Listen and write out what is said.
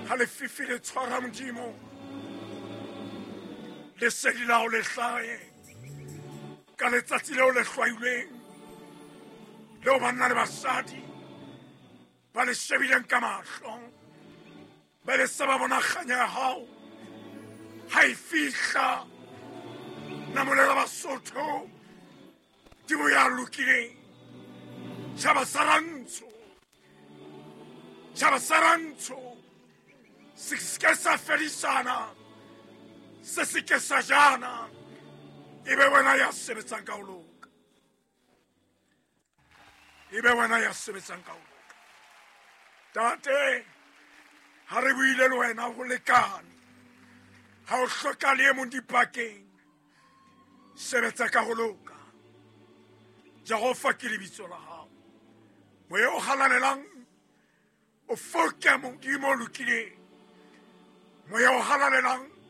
Ha lefifi le tshwara Modimo, lesedi la hao le hlahe ka letsatsi leo le hlwailweng, leo banna le basadi ba le shebileng ka mahlo, ba le se ba bona kganya ya hao ha e fihla. Namolela Basotho, Modimo ya lokileng, tjhaba sa rantsho, tjhaba sa rantsho se ke sa fedisana, se se ke sa jana, e be wena ya sebetsang ka ho loka, e be wena ya sebetsang ka ho loka. Tate, ha re buile le wena ho lekane, ha o hloka le e mong dipakeng, sebetsa ka ho loka. Jehova ke lebitso la hao. Moya o halalelang o foke, Modimo o lokileng, moya o halalelang.